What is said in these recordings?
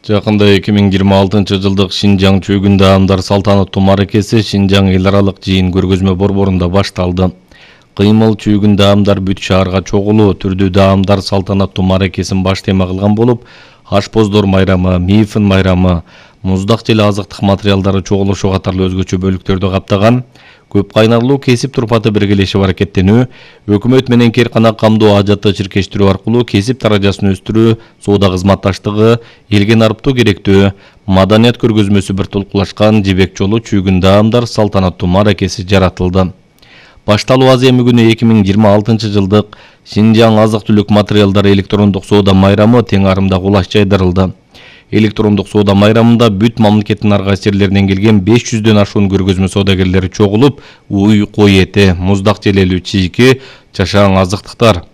Жакында 2026-жылдык Шинжаң чөгүн даамдар салтанаттуу мааракеси Шинжаң эл аралык жыйын көргөзмө борборунда башталды. Кыймыл чөгүн даамдар бүт шаарга чогулуу түрдүү даамдар салтанаттуу мааракесин баш тема кылган болуп, ашпоздор майрамы, мифин майрамы, муздак жел азыктык материалдары чогулушу катарлуу өзгөчө бөлүктөрдү каптаган. Көп кайнарлуу кесип турпаты биргелешип аракеттенүү, өкмөт менен керкана камдоо ажатты чиркештирүү аркылуу кесип даражасын өстүрүү, соода кызматташтыгы, элге нарыптоо керектөө, маданият көргөзмөсү бир толкулашкан жибек жолу чөгүн даамдар салтанаттуу мааракеси жаратылды. Башталуу аземі күнү 2026-жылдык Шинжаң азык-түлүк материалдары электрондук соода майрамы тең арымда кулаш жайдырылды. Электрондук соода майрамында бүт мамлекеттин ар кайсы жерлеринен келген 500дөн ашуун көргөзмө соодагерлери чогулуп, уй, кой эти, муздак желелүү чийки, чашаң азыктыктар,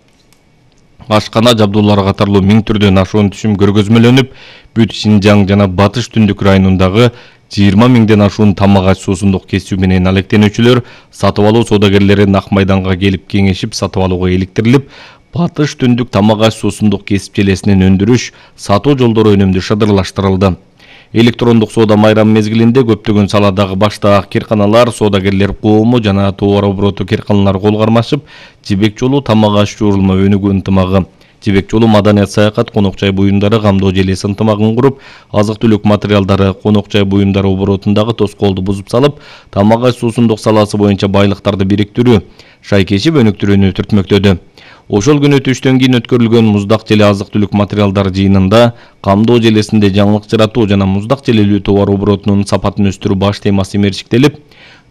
ашкана жабдуулары катарлуу 1000 түрдөн ашуун түшүм көргөзмөлөнүп, бүт Шинжаң жана Батыш Түндүк районундагы 20 000ден ашуун тамак аш суусундук кесүү менен алектенүүчүлөр сатып алуу соодагерлери нак майданга келип кеңешип сатып алууга иликтирилип, Батыш Түндүк тамак аш суусундук кесип желесинен өндүрүш, сатуу жолдору өнүмдүү шыдырлаштырылды. Электрондук соода майрамы мезгилинде көптөгөн саладагы баштаак керканалар, соодагерлер коому жана товар обороту керканалары кол кармашып, жибек жолу тамак аш жуурулма өнүгүү ынтымагы, жибек жолу маданият саякат конок жай буюмдары камдоо желеси ынтымагын куруп, азык-түлүк материалдары конок жай буюмдары оборотундагы тоскоолду бузуп салып, тамак аш суусундук саласы боюнча байлыктарды бириктирүү, шайкешип өнүктүрүүнү түртмөктөдү. Ошол күнү түштөн кийин өткөрүлгөн муздак желе азык-түлүк материалдары жыйынында камдоо желесинде жаңылык жаратуу жана муздак желелүү товар оборотунун сапатын өстүрүү баш темасы мерчиктелип,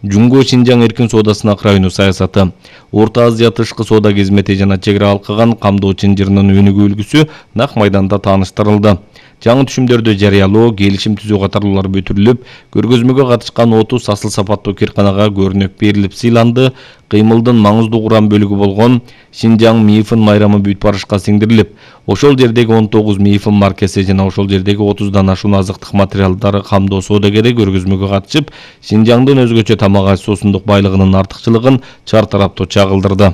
Жумго Шинжаң эркин соодасына крайнуу саясаты, Орто Азия тышкы соода кызмети жана чек ара алкаган камдоо чынжырынын өнүгүү үлгүсү нак майданда тааныштырылды. Жаңы түшүмдөрдү жарыялоо, келишим түзүү катарлуулар бүтүрүлүп, көргөзмөгө катышкан 30 асыл сапаттуу керканага көрүнөк берилип сыйланды. Кыймылдын маңыздуу курам бөлүгү болгон Шинжаң мифин майрамы бүт барышка сиңдирилип, ошол жердеги 19 мифин маркасы жана ошол жердеги 30дан ашуун азыктык материалдары камдоо соодагери көргөзмөгө катышып, Шинжаңдын өзгөчө тамак аш суусундук байлыгынын артыкчылыгын чартараптуу чагылдырды.